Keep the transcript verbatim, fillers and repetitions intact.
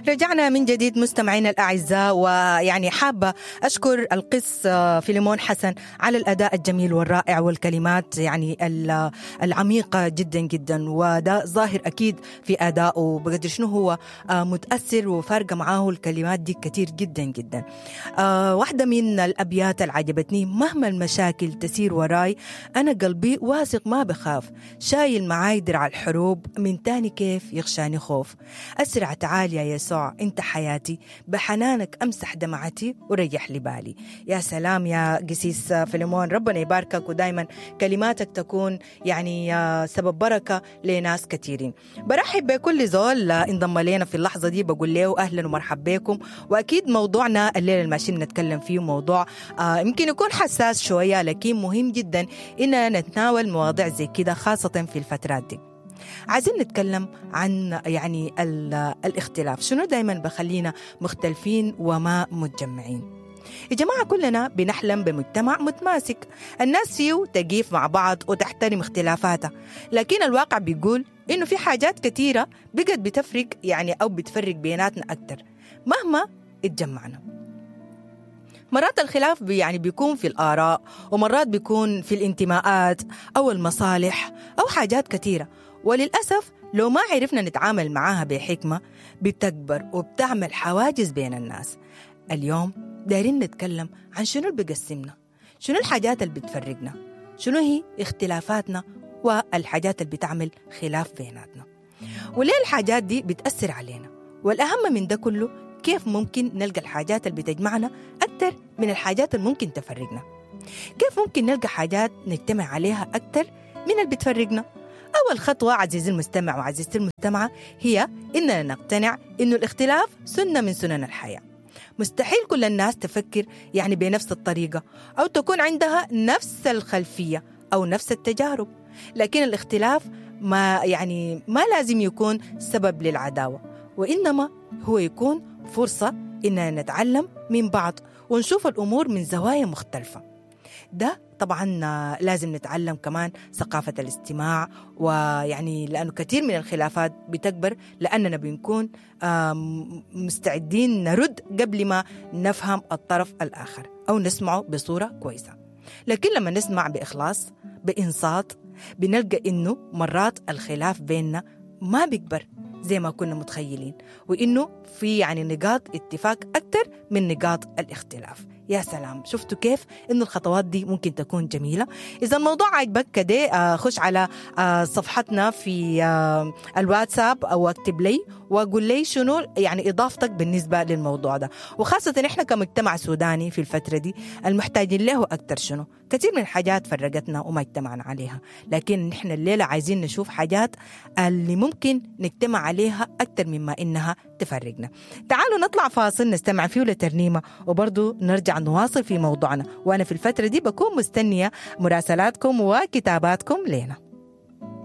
رجعنا من جديد مستمعينا الأعزاء، ويعني حابة أشكر القس فيليمون حسن على الأداء الجميل والرائع والكلمات يعني العميقة جدا جدا، وده ظاهر أكيد في أدائه بقدر شنو هو متأثر وفارقة معاه الكلمات دي كتير جدا جدا. واحدة من الأبيات اللي عجبتني: مهما المشاكل تسير وراي أنا قلبي واثق ما بخاف، شايل معاي درع الحروب من تاني كيف يغشاني خوف، أسرع تعال يا يسوع انت حياتي، بحنانك امسح دمعتي وريح لي بالي. يا سلام يا قسيس فيليمون، ربنا يباركك ودايما كلماتك تكون يعني سبب بركة لناس كثيرين. برحب بكل زول انضم لنا في اللحظة دي، بقول له اهلا ومرحبا بكم. واكيد موضوعنا الليلة الماشيين نتكلم فيه موضوع يمكن يكون حساس شوية، لكن مهم جدا اننا نتناول مواضيع زي كده خاصة في الفترات دي. عايزين نتكلم عن يعني الاختلاف، شنو دايما بخلينا مختلفين وما متجمعين. يا جماعة كلنا بنحلم بمجتمع متماسك، الناس فيه تقيف مع بعض وتحترم اختلافاتها، لكن الواقع بيقول إنه في حاجات كثيرة بقت بتفرق يعني أو بتفرق بيناتنا أكتر مهما اتجمعنا. مرات الخلاف يعني بيكون في الآراء، ومرات بيكون في الانتماءات أو المصالح أو حاجات كثيرة، وللأسف لو ما عرفنا نتعامل معاها بحكمة بتكبر وبتعمل حواجز بين الناس. اليوم دايرين نتكلم عن شنو اللي بيقسمنا، شنو الحاجات اللي بتفرقنا، شنو هي اختلافاتنا والحاجات اللي بتعمل خلاف بيناتنا، وليه الحاجات دي بتأثر علينا، والأهم من ده كله كيف ممكن نلقى الحاجات اللي بتجمعنا أكتر من الحاجات اللي ممكن تفرقنا، كيف ممكن نلقى حاجات نجتمع عليها أكتر من اللي بتفرقنا. أول خطوة عزيزي المستمع وعزيزتي المستمعة هي إننا نقتنع إنه الاختلاف سنة من سنن الحياة. مستحيل كل الناس تفكر يعني بنفس الطريقة أو تكون عندها نفس الخلفية أو نفس التجارب، لكن الاختلاف ما يعني ما لازم يكون سبب للعداوة، وإنما هو يكون فرصة إننا نتعلم من بعض ونشوف الأمور من زوايا مختلفة. ده طبعا لازم نتعلم كمان ثقافة الاستماع، ويعني لأنه كثير من الخلافات بتكبر لأننا بنكون مستعدين نرد قبل ما نفهم الطرف الآخر أو نسمعه بصورة كويسة. لكن لما نسمع بإخلاص بإنصات بنلقى إنه مرات الخلاف بيننا ما بيكبر زي ما كنا متخيلين، وإنه في يعني نقاط اتفاق أكثر من نقاط الاختلاف. يا سلام، شفتوا كيف إنه الخطوات دي ممكن تكون جميلة. إذا الموضوع عجبك كده خش على صفحتنا في الواتساب أو اكتب لي وقول لي شنو يعني إضافتك بالنسبة للموضوع ده، وخاصة إحنا كمجتمع سوداني في الفترة دي المحتاجين له أكتر شنو. كثير من الحاجات فرقتنا وما اجتمعنا عليها، لكن نحن الليلة عايزين نشوف حاجات اللي ممكن نجتمع عليها أكتر مما إنها تفرقنا. تعالوا نطلع فاصل نستمع فيه لترنيمة وبرضو نرجع نواصل في موضوعنا، وأنا في الفترة دي بكون مستنية مراسلاتكم وكتاباتكم لنا.